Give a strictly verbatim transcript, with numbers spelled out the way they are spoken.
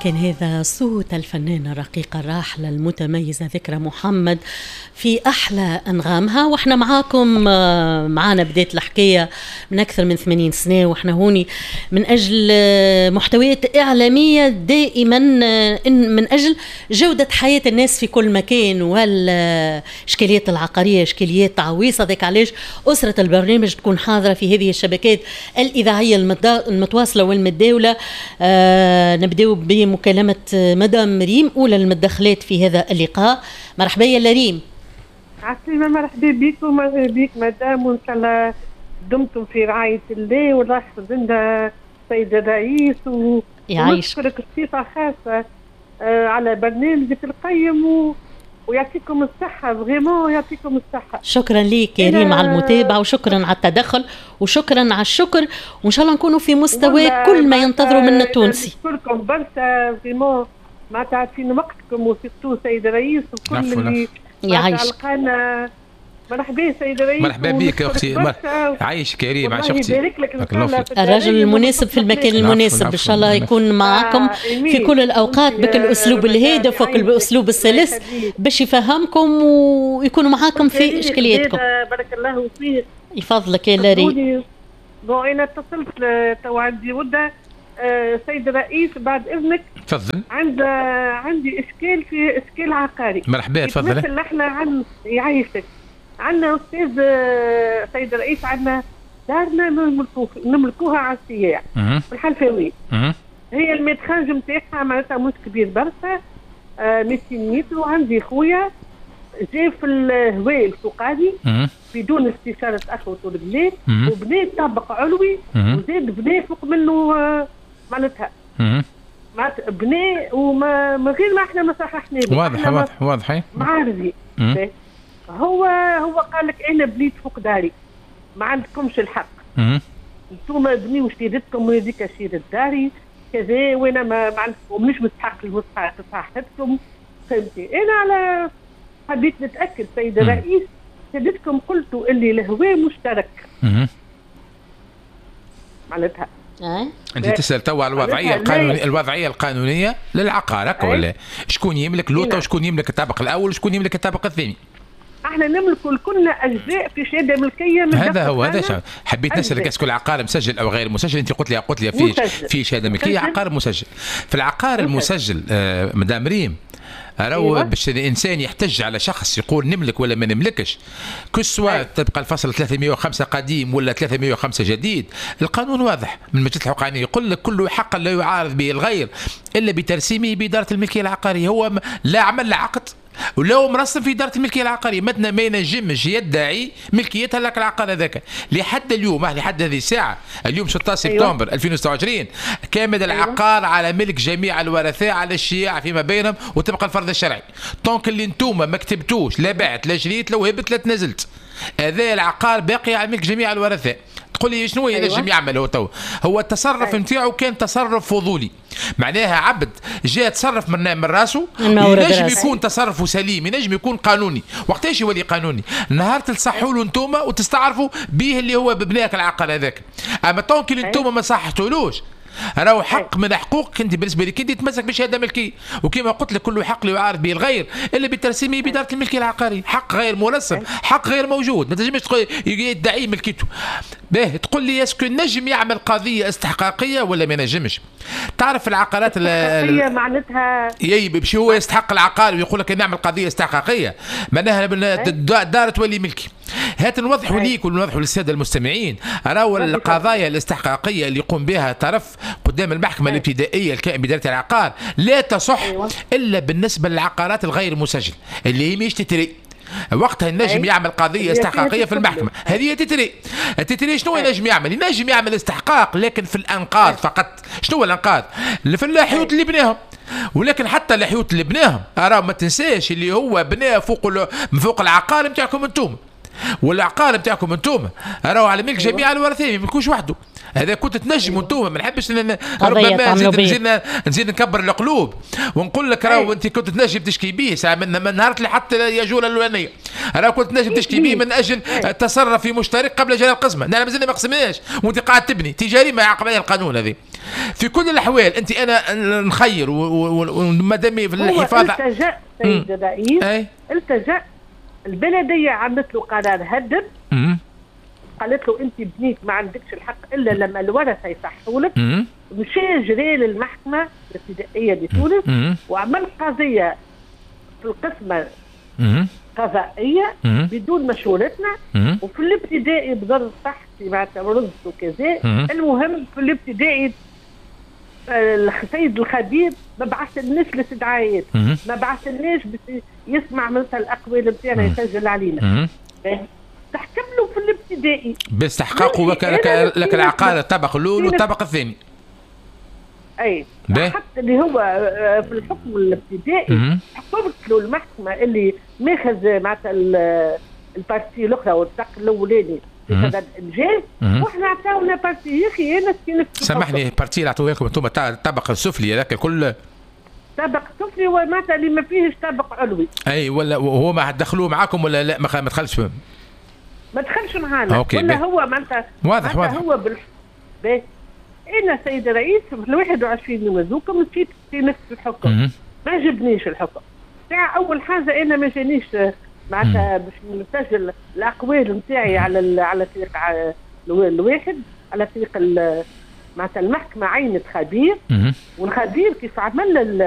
كان هذا صوت الفنانة الرقيقة الراحلة المتميزة ذكرى محمد في أحلى أنغامها. وإحنا معاكم، معانا بداية الحكاية من أكثر من ثمانين سنة، وإحنا هوني من أجل محتويات إعلامية دائما من أجل جودة حياة الناس في كل مكان، والإشكاليات العقارية إشكاليات عويصة. ذاك علاش أسرة البرنامج تكون حاضرة في هذه الشبكات الإذاعية المتواصلة والمتداولة. آه نبدأ بمكالمة مدام ريم، أولى المدخلات في هذا اللقاء. مرحبا يا ريم. عسلامة، مرحبا بك ومرحبا بك مدام، وإن شاء الله دمتم في رعاية الله والله يحفظ لنا السيد الرئيس و... ونشكرك بصفة خاصة على برنامجك القيم و... ويعطيكم الصحة، vraiment يعطيكم الصحة. شكرا لك يا ريم على المتابعة، وشكرا على التدخل، وشكرا على الشكر، وإن شاء الله نكونوا في مستوى كل ما ينتظروا منا التونسي. نشكركم برشا vraiment ما تعطينا وقتكم، و surtout سيد الرئيس وكل اللي يعيشك. مرحبا سيد الرئيس. مرحبا بك يا اختي، عايشك يا ريم، عايش اختي. الرجل المناسب في المكان المناسب، ان شاء الله يكون معكم في كل الاوقات بك الاسلوب الهادف وبالاسلوب السلس باش يفهمكم ويكونوا معاكم في اشكالياتكم. بارك الله فيك. يفضلك يا لاري. bon انا اتصلت تو عندي مده سيد الرئيس بعد اذنك. تفضل. عند عندي اشكال في اشكال عقاري. مرحبا تفضل. مثل احنا عن يعيشك عندنا استاذ سيد الرئيس، عندنا دارنا نملكو نملكوها على السياح في الحلفاوي. هي ال métrage نتاعها معناتها مش كبير برشا، مئتين متر. وعندي خويا جا في الهواء الفوقاني بدون استشارة اخوته البنات، وبنى طابق علوي وزاد بنى فوق منه معناتها معناتها بنى وما من غير ما احنا ما صححنا. واضح واضح واضح. معارضي هو هو قال لك انا بنيت فوق داري، ما عندكمش الحق، انتم بنيو شيرتكم وهذيك شيرة داري كذا، وانا ما ما عندكم مش مستحق لصحتكم. فهمتي؟ انا على حبيت نتاكد سيد الرئيس، سيدتكم قلتوا اللي الهواء مشترك. معناتها انت تسال توا على الوضعية القانونية، الوضعية القانونية للعقار هكا ولا؟ شكون يملك لوطه وشكون يملك الطابق الاول وشكون يملك الطابق الثاني؟ احنا نملك كلنا اجزاء في شهادة ملكية من هذا هو. هذا حبيت نسالك est-ce que العقار مسجل او غير مسجل؟ انت قلت لي قلت لي في في شهادة ملكية عقار مسجل. في العقار المسجل آه مدام ريم، راهو أيوة. باش الانسان يحتج على شخص يقول نملك ولا ما نملكش، que ce soit تبقى الفصل ثلاثمئة وخمسة قديم ولا ثلاثمئة وخمسة جديد، القانون واضح من مجلس الحقوق يقول لك كل حق لا يعارض به الغير الا بترسيمه بادارة الملكية العقارية. هو لا عمل لا عقد ولو مرسم في ادارة الملكية العقارية، مثلا ما ينجمش يدعي ملكيتها لك العقار هذاك لحد اليوم، لحد هذه الساعة اليوم ستة عشر سبتمبر أيوة. ألفين وستة وعشرين كامل أيوة. العقار على ملك جميع الورثاء على الشياع فيما بينهم وتبقى الفرض الشرعي. tant que اللي انتوما ما كتبتوش لا بعت لا شريت لا وهبت لا تنازلت، هذا العقار باقي على ملك جميع الورثاء. تقول لي شنو ينجم أيوة. يعمل هو تو؟ هو التصرف نتاعو أيوة. كان تصرف فضولي، معناها عبد جاء تصرف من من راسه، ينجم يكون تصرفه سليم، ينجم يكون قانوني. وقتاش يولي قانوني؟ نهار تصحوا له انتوما وتستعرفوا به اللي هو ببناك العقل هذاك. اما tant que اللي انتوما ما صحتولوش، راهو حق من حقوقك انت بالنسبة لك انت تمسك بشهادة ملكية، وكما قلت لك كل حق لا يعارض به الغير الا بترسيمه بادارة الملكية العقارية، حق غير مرسم، حق غير موجود، ما تنجمش يدعي ملكيته. باهي تقول لي est-ce que نجم يعمل قضية استحقاقيه ولا ما نجمش؟ تعرف العقارات الاستحقاقيه معناتها يي باش هو يستحق العقار ويقول لك نعمل قضية استحقاقيه، معناها الدار تولي ملكي. هات نوضحوا ليك ونوضحوا للسادة المستمعين، راهو القضايا الاستحقاقيه اللي يقوم بها طرف قدام المحكمة الابتدائية الكائن بادارة العقار لا تصح أيوة. الا بالنسبة للعقارات الغير مسجلة اللي هي مش titrée. وقتها النجم يعمل قضية استحقاقيه في المحكمة، هذه titrée. ال titrée شنو ينجم يعمل؟ ينجم يعمل استحقاق لكن في الانقاض فقط. شنو هو الانقاض؟ في الحيوط اللي بناهم، ولكن حتى الحيوط اللي بناهم راه ما تنساش اللي هو بناه فوق فوق العقار نتاعكم انتم، والعقار نتاعكم انتم راهو على ملك جميع الورثة، ما يملكوش وحده. هذا كنت تنجموا انتم، ما نحبش ربما نزيد نزيد نزيد نكبر القلوب ونقول لك راهو انت كنت تنجم تشكي به ساعة من, من نهار اللي حط ياجوره الاولانية، راهو كنت تنجم تشكي به من اجل التصرف في مشترك قبل جلال القسمة، نحن مازلنا ما قسمناش وانت قاعد تبني تجاري ما يعاقب عليها القانون هذه. في كل الاحوال انت انا نخير ومادام في الحفاظ. هو التجا سيد الرئيس، التجا البلدية عملت له قرار هدم، قالت له انت بنيت ما عندكش الحق الا لما الورثة يصحوا لك. مشى جري للمحكمة الابتدائية بتونس وعمل قضية في القسمة قضائية بدون مشورتنا، وفي الابتدائي بضر صحتي معناتها مرضت وكذا. المهم في الابتدائي السيد الخبير ما بعثلناش الاستدعاءات، ما بعثلناش باش يسمع مثلا الاقوال نتاعنا يسجل علينا. تحكم له في الابتدائي باستحقاقه لك العقار الطبق الاول والطبق الثاني. اي حتى اللي هو في الحكم الابتدائي حكمت له المحكمة اللي ماخذ معناتها ال partie الاخرى والطبق الاولاني في سبب انجاز، واحنا عطاونا partie. يا اخي انا سامحني، partie اللي عطوها لكم انتم الطبق السفلي هذاك الكل، طبق سفلي ومعناتها اللي ما فيهش طبق علوي. اي ولا وهو ما دخلوه معاكم ولا لا؟ ما دخلش، ما دخلش معانا ولا هو معناتها واضح واضح هو بال انا سيد الرئيس في ال واحد وعشرين يوم هذوكم مشيت في نفس الحكم، ما عجبنيش الحكم. ساعة اول حاجة انا ما جانيش معناتها باش نسجل الاقوال نتاعي على على طريق الواحد، على طريق معناتها المحكمة عينت خبير، والخبير كيف عمل